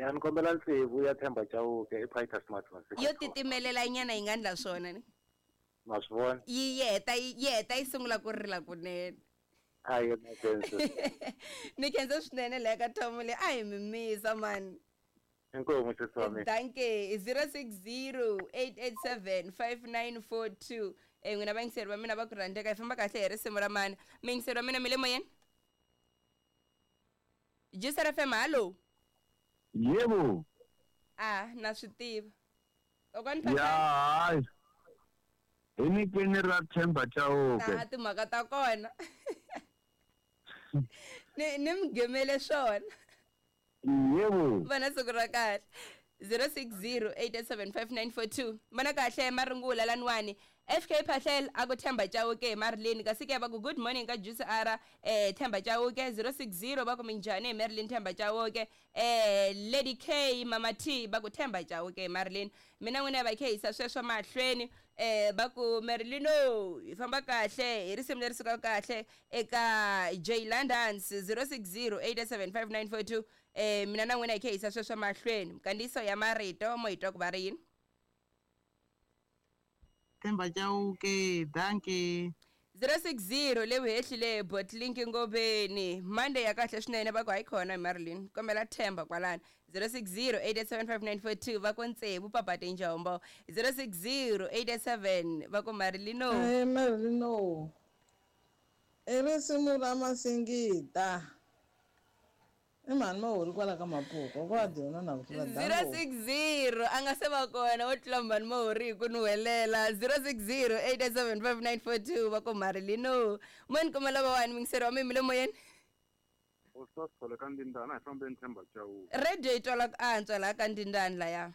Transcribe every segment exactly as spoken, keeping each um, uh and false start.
Ya ni kombela tsevu ya Themba Chauke i Peter Smart Yo titimelela nyana yi nga ndla swona ni. Ma swi vona? Yi yeta yi yeta yi sungula ku rila kunene. A yi na sense. Ni khensa swinene la ka Tom le a hi mimisa man. Inkomu sisi wa mina. Danke zero six zero eight eight seven five nine four two. Eh n'wina vayingiseri va mina va ku rhandzeka hi famba kahle hi risimu ra mani. Miyingiseri wa mina mi le moyeni? Juice F M, hallo. Yebo. Ah, na swi tiva. Kokwani Phahlane. Ya, hayi. Hi nyikeni ra Themba Chauke. Ah, timhaka ta kona. Ni ni mi gemele swona. Yebo. Vana siku ra kahle. zero six zero eight eight seven five nine four two. Mana kahle marungula laniwani. F K Phahlel aku Themba Chauke Marilyn kasi ke va ku good morning ka Juice R eh Themba Chauke zero six zero va ku minjhani Marilyn Themba Chauke eh Lady K Mama T va ku Themba Chauke Marilyn. Mina n'wina va khe hisa sweswo mahlweni eh va ku Marilyn o hi famba kahle hi risimu leri sukaka kahle eka J Londons zero six zero eight eight seven five nine four two. Eh mina na n'wina hi khe hisa sweswo mahlweni mkandiso ya marito mo hi twa ku va ri yini. Themba Chauke, dankie. zero six zero le vuhehlile Botlink Ngobeni. Monday ya kahle swinene va ku hayi khona Marilyn. Kombela Themba kwalana. zero six zero eight eight seven five nine four two va ku Ntsevu Papa Tinjombo. zero six zero eight eight seven va ku Marilyn. Eh Marilyn. I risimu ra Masingita. I mani ma kwala ka Mapuku kwa dyona na ku tlula zero six zero a nga se va kona wo tlula mani mahori hi ku nuhelela zero six zero eight eight seven five nine four two va ku Marilyn. Mo ni kuma lava wani mingiseri wa mi le moyeni. Ostas kwala ka Ndindana hi fambeni Themba Chauke. Radio yi twala ku antswa laha ka Ndindana laya.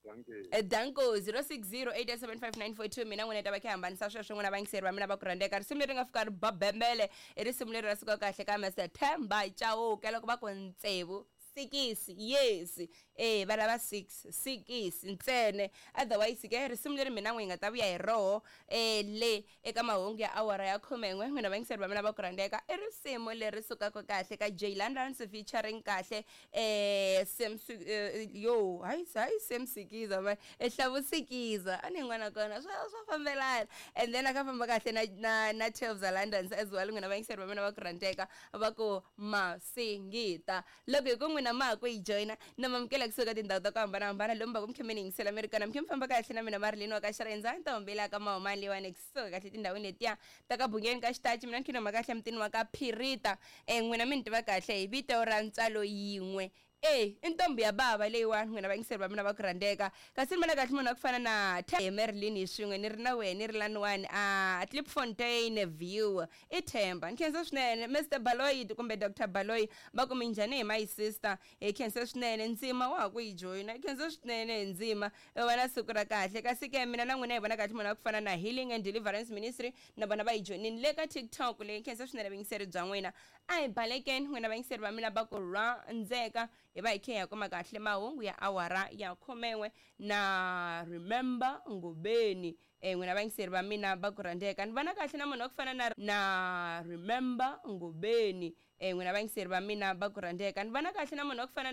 Danke. Danko zero six zero eight eight seven five nine four two mina n'wina ta va khe hambanisa sweswo n'wina vayingiseri va mina va ku rhandzeka. Risimu leri nga fika ri ba bembele i risimu leri ra suka kahle ka Mister Themba Chauke loko va ku Ntsevu sikisi yes eh va lava six sikisi ntsene otherwise ke risimu leri mina n'wi nga ta vuya hi roho eh le eka mahungu ya awara ya khumen'we n'wina vayingiseri va mina va ku rhandzeka i risimu leri sukaka kahle ka J Londons featuring kahle eh Sam yo hayi hayi Sam Sikiza ma ehlavusikiza ani n'wana kona swa swa fambelana and then aka famba kahle na na na twelve za Londons as well n'wina vayingiseri va mina va ku rhandzeka va ku Masingita loko hi ku n'wina ma ku yi joina na mamukela kusuka tindhawu ta ku hambanahambana lomu va ku mi khe mi ni yingisela mi ri kona mi khe mi famba kahle na mina Marilyn wa ka Xirendza ntombi la ka Mahumani leyiwani kusuka kahle tindhawini letiya ta ka Bungeni ka Xitachi mina ni khe kahle mutini wa ka Phirita eh n'wina mi ni tiva kahle hi vito ra ntswalo yin'we eh i ntombi ya bava leyiwani n'wina vayingiseri va mina va ku rhandzeka kasi ni vona kahle munhu wa ku fana na Marilyn hi swin'we ni ri na wena ni ri laniwani a Klipfontein View i Themba. Ni khensa swinene Mister Baloyi kumbe Doctor Baloyi va ku minjhani hi my sister hi khensa swinene ndzima wa ha ku yi joyina hi khensa swinene ndzima va na siku ra kahle kasi ke mina na n'wina hi vona kahle munhu wa ku fana na Healing and Deliverance Ministry na vona va yi joyinini le ka TikTok leyi khensa swinene vayingiseri bya n'wina a hi balekeni n'wina vayingiseri va mina va ku rhandzeka hi va hi khe hi kuma kahle mahungu ya awara ya khumen'we na Remember Ngobeni eh n'wina vayingiseri va mina va ku rhandzeka ni vona kahle na munhu wa ku fana na na Remember Ngobeni eh n'wina vayingiseri va mina va ku rhandzeka ni vona kahle na munhu wa ku fana